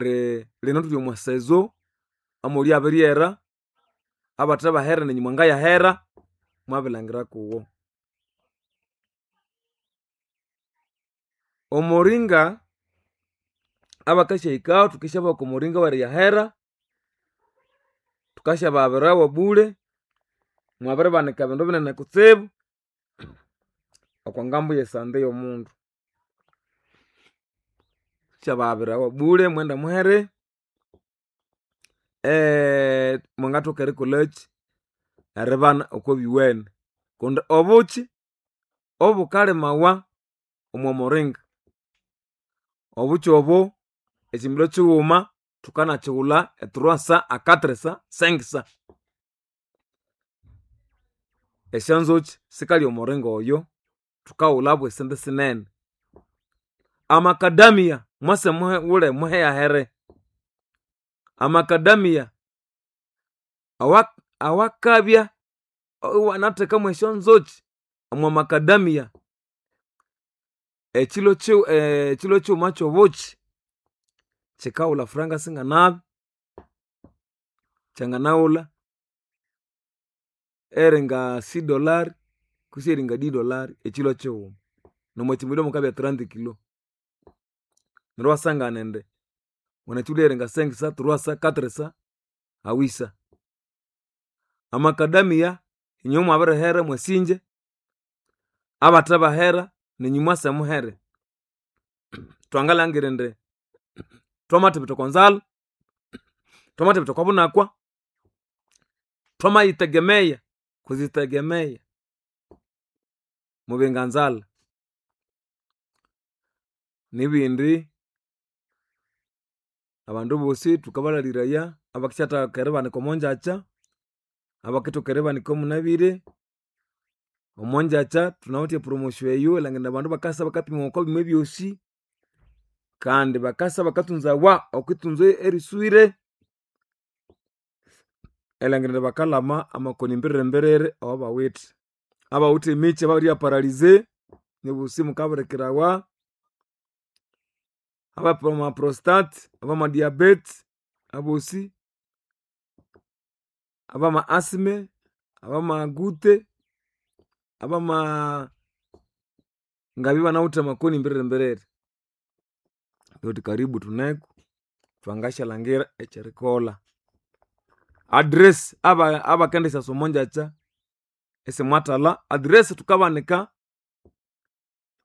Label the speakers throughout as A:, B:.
A: Lino thuli omwa sezo amoli abiryera, abathe bahera nenywe mwangayahera, mwabilangira kuwo. Omuringa abakasyahikaho thukisyabaha oko muringa weriyahera, thukasyabahabirawo bule, mwabiribanika ebindu binene kutsibu okwa ngambo yesante yomundu. Thukasyabahabirawo bule mughende muhere, mwangathoka erikolhakyi, eribana okobiwene kundi obukyi obukalimawa omwa muringa, obukyi obo ekyimilho kyighuma thukanakighulha e trois cents a quatre cents, cinq cents. Esyanzukyi sikalya omuringa oyo, thukaghulha bwesente sinene. Amakadamia mwase mughule muheyahere, amakadamia awakabya iwanatheka mwesyonzukyi omwa makadamia, ekyilo kyighuma kyobukyi kyikaghulha franga singanabi, kyanganaghulha eringa six dollars kwisi eringa dix dollars ekyilo kyighuma. Nomwakyimilho mukabya trente kilo. Neryo iwasangana indi wanganakyighulha eringa cinq cents, trois cents, quatre cents, a huit cents. Amakadamia inywe mwabirihera mwasingya, abathe bahera nenywe mwase muhere. Thwangalhangira indi thwamathibitha okonzalha, thwamathibitha okobunakwa, thwamayitegemeya kwizitegemeya mubinga nzalha. Nibindi abandu bosi thukabalhaliraya abakisyathaka eribanika omongyakya, abakithoka eribanika munabire, omongyakya thunawithe e promotion eyo erilhangira indi abandu bakasa bakapimwa okobyuma ebyosi kandi bakasa bakathunzawa okwithunza eriswire erilhangira indi bakalhama amakoni mbiriri mbiriri awabawithe. Abawithe emikyi ababiribya paralyze nibosi mukabirikirawa, abama prostate, abama diabete abosi, abama asthma, abama gute, abama ngabya ibanawithe amakoni mbiriri mbiriri. Thuthi karibu thuneko thwangashalhangira ekyerikolha. Address abakendisyasa omongyakya isimwathalha, address thukabanika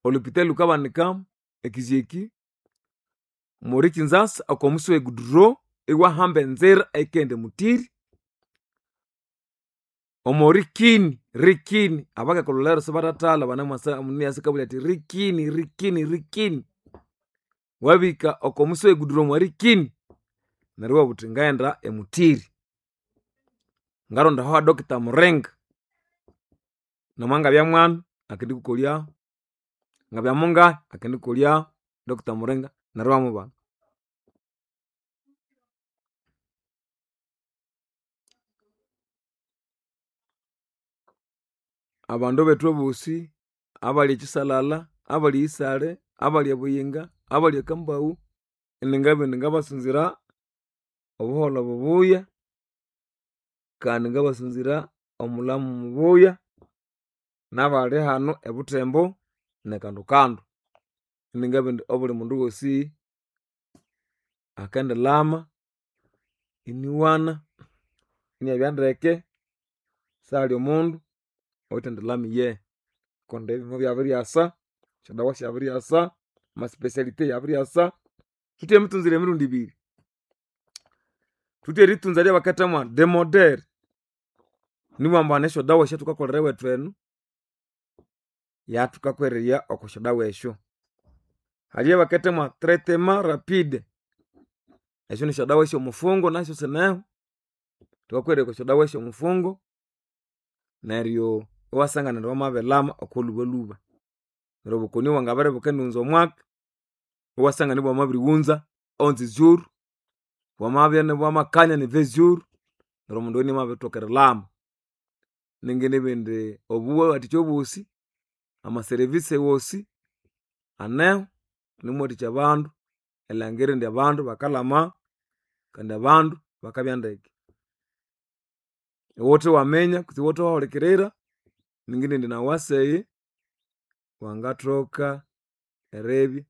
A: olhupitali lhukabanika ekizyeki omorikinzasa okomusi we goudron iwahamba enzira eyikaghenda emutiri omorikini rikini abakekulhulero sibathathalha banemwasa omundu inasakabulya athi rikini rikini rikini wabihika okomusi we goudron omwarikini neryo iwabugha wuthi ngaghenda emutiri ngaronda aho ha doctor Muringa namangabya mwana akendikukolyahu ngabya mungahi akendikukolyahu doctor Muringa neryo iwamubana. Abandu bethu abosi abali ekisalala, abali eyisale, abali ebuyinga, abali ekambaghu, iningabugha indi ngabasunzira obuholho bubuya kandi ngabasunzira omulhamu mubuya nabali hanu ebuthembo nekandokando. Iningabugha indi obuli mundu wosi akendilhama iniwana, inabya ndeke sihali omundu oyuthendilhama iye kundi ebima byabiryasa, esyadawa syabiryasa, ama speciality abiryasa. Thuwithe emitunzire emirundi ibiri, thuwithe eritunza eryabakethamo demodere nibughambu hane esyadawa esyathukakolera ewethu enu yathukakwereya okwa syadawa esyo. Hali eyabakethamo traitement rapide, esyo nisyadawa esyomufungo nasyu sineho, thukakwereya okwa syadawa esyomufungo neryo iwasangana indi wamabilhama okolhubalhuba. Neryo obukoni obwangabere ibukendighunza omwaka, iwasangana ibwamabirighunza onze jours, bwamabya ibwamakanya ni vingt jours neryo omundu oyo inamabithoka erilhama. Ningindibugha indi obuwathikya obosi, ama service wosi aneho inimwathikya abandu. Erilhangira indi abandu bakalama kandi abandu bakabya ndeke. Iwuthe waminya kutse iwuthe wahulikirira, ningindi indi nawu waseyi wangathoka eribya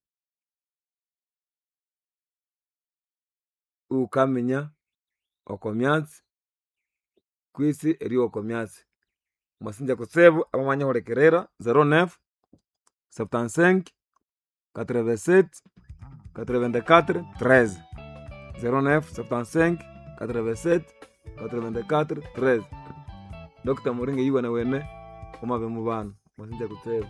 A: iwukaminya oko myatsi kwisi eryowa oko myatsi. Mwasinja kutsibu abamanyihulikirira 09 75 87 84 13 09 75 87 84 13. Dr. Muringa yiwene wene wamabe mubana. Mwasinja kutsibu.